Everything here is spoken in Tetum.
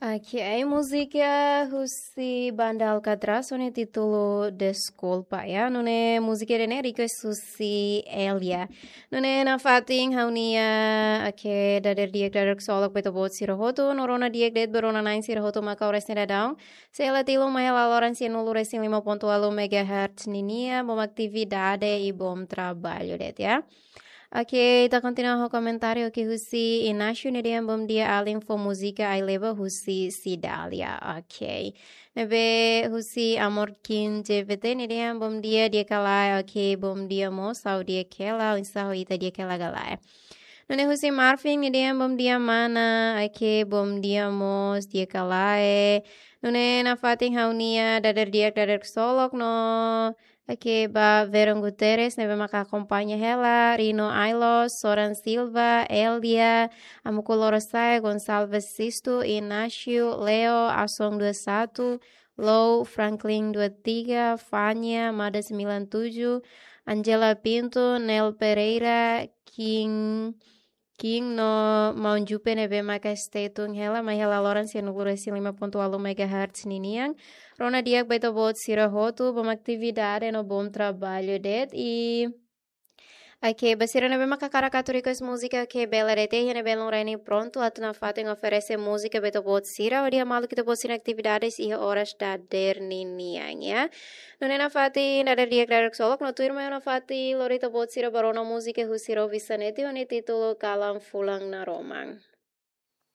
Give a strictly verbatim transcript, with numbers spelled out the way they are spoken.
Ok, múzika husi Banda Alcatraz ho nia títulu Deskulpa, ya. Nune'e múzika ida-ne'e request husi Elia. Nune'e nafatin ha'u-nia, ok, dadeer di'ak, dadeer ksolok ba ita-boot sira hotu, no rona di'ak de'it ba rona na'in sira hotu mak oras ne'e daudaun. Sei hela tilun mai hela loron sianulu resin lima pontu ualu megahertz ninian, bom atividade i bom trabalho de'it, ya. Ok, ita kontinua ho komentáriu, ok, husi Inácio, nia dehan bom dia alin, fó múzika Ai Leba husi Cidália. Ok. Ne'ebé husi Amor Kim J V T, nia dehan bom dia, di'ak ka lae? Ok, bom dia mós, ha'u di'ak hela, oinsá ho ita, di'ak hela ka lae? Nune'e husi Marvin, nia dehan bom dia mana, ok, bom dia mós, di'ak ka lae? Nune'e nafatin ha'u-nia dadeer di'ak, dadeer ksolok no, ok, ba Veron Guterres, ne'ebé maka akompaña hela, Rino Ailos, Soran Silva, Elia, Amuku Lorosaya, Gonçalves Sisto, Inácio, Leo, Asong dua satu, Lou, Franklin dua tiga, Fania, Mada sembilan tujuh, Angela Pinto, Nel Pereira, King, King no Maun Jupe ne'ebé maka stay tune hela, mai hela loron sianulu resin lima pontu ualu megahertz ninian. Rona di'ak ba ita-boot sira hotu, bom atividade no bom trabalho de'it. I, ok, ba sira ne'ebé maka hakarak atu request múzika, ok, bele de'it, iha ne'e belun reni prontu atu nafatin oferese múzika ba ita-boot sira hodi hamaluk ita-boot sira-nia atividades iha oras dadeer ninian, ya. Nune'e nafatin dadeer di'ak, dadeer ksolok no tuirmai ha'u nafatin lori ita-boot sira ba rona múzika husi Rau Visaneti ho nia títulu Kalan Fulan Naroman.